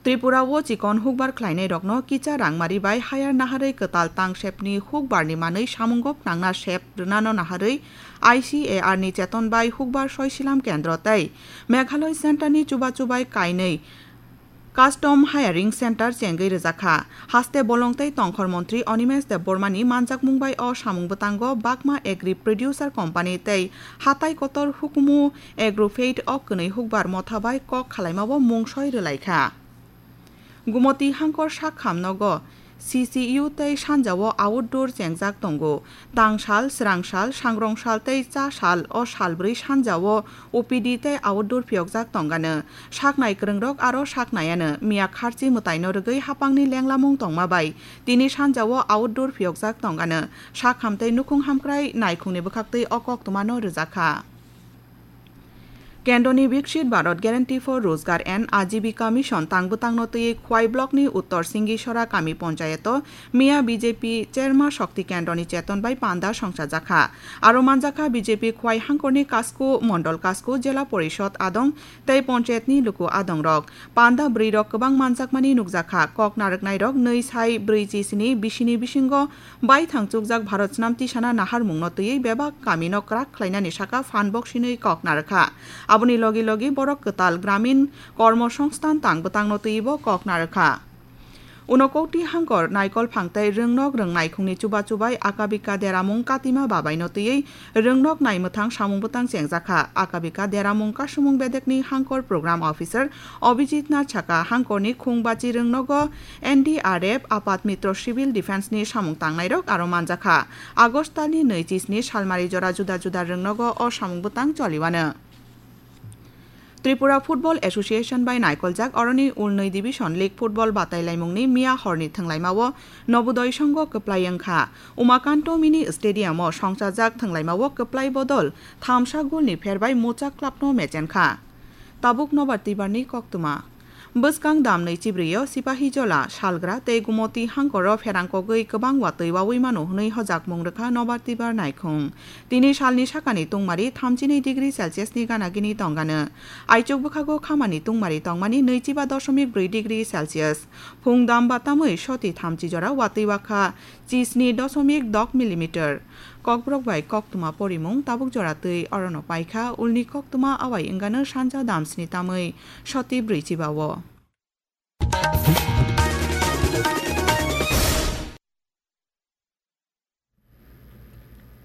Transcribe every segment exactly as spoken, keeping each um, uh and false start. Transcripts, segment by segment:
Tripura o chikon hukbar khlainai rokno kicha rangmari bai hayar naharwi kwtal tangsepni hukbar ni manwi samungo phnangna sep rwnano naharwi I C A R ni cheton bai hukbar soisilam kendro tei Meghalaya Center ni chubachu bai kainwi Custom Hiring Center chengwi rwjakha. Haste bolong tei tongkhor montri Animesh Debbarma ni manjakmung bai o samung bwtango Bakma Agri Producer Company tei hatai kotor hukumu Agrofed o kwnwi hukbar motha bai kok khalaima o mungsoi rwlaikha. Gumoti hangkor sak kham nogo C C U tei sanja o outdoor chengjak tongo. Tangsal, swrangsal, sangrongsal tei chasal o salbrwi sanja o O P D tei outdoor phiyokjak tongano. Saknai kwrwngrok aro saknaiano miya kharchi mwtaino rwgwi hapangni lenglamung tongma bai tini sanja o outdoor phiyokjak tongano. Sak ham tei nukhung hamkrai naikhungni bwkhaktwi o koktwmano rwjakha. Kendroni Viksit Bharat Guarantee for Rozgar and Ajibika Mission tang bwtangno twiwi Khwai Blockni Uttor Singisora Kami Ponchayato miya B J P Cherma Shakti Kendroni cheton bai panda songchajakha. Aro manjakha B J P Khwai hangkorni Kasku, Mondol Kasku, Jela Porishod adong tei Ponchayatni luku adongrok. Panda bwrwirok kwbang manjakmani nukjakha. Kok narwknairok nwi sai brwi chisni bisini bisingo baithang chukjak Bharat Snam Tisana naharmungno twiwi bebak kamino kwrak khlainani saka phan boksinwi kok narwkha. Aboni logi logi borok kwtal gramin kormo songsthan tang bwtangno twiwi bo kok narwkha. Unokoti hangkor naikol phang tei rwngnok rwngnai khungni chubachu bai akabika deramung katima babaino twiwi rwngnok naimwthang samung bwtang chengjakha. Akabika deramung kasumung bedekni hangkor program officer Abhijit Nath saka hangkorni khung bachi rwngnogo N D R F, Apat Mitro Civil Defence ni samung tangnairok aro manjakha. August talni nwi chisni salmari jora juda juda rwngnogo o samung bwtang choliwano. Tripura Football Association bai naikoljak oroni ulnwi division league football batailaimungni miya horni thwnglaimao Nobudoi Songho kwplai wngkha. Umakanto Mini Stadium o songchajak thwnglaimao kwplai bodol thamsa golni pherbai Muchak clubno mechenkha. Tabuk nobar twibarni koktwma. Bwskang dam nwi chibrwi o Sipahijola, Salgra tei Gumoti hangkoro pherang kogwi kwbang watwi wawi mano hwnwi hojakmung rwkha nobar twibar naikhung. Tini salni sakani tungmari thamchinwi degree Celsius ni gana gini tongano. Aichuk bwkhago khamani tungmari tongmani nwichiba doshomik brwi degree Celsius. Phung dam batamwi soti thamchi jora watwi wakha chisni doshomik dok millimeter. Kokborok bai koktwma porimung tabuk jora twi orono paikha, ulni koktwma awai wngano sanja dam sni tamwi soti brwichiba o.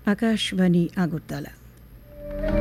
Akashbani Agartala.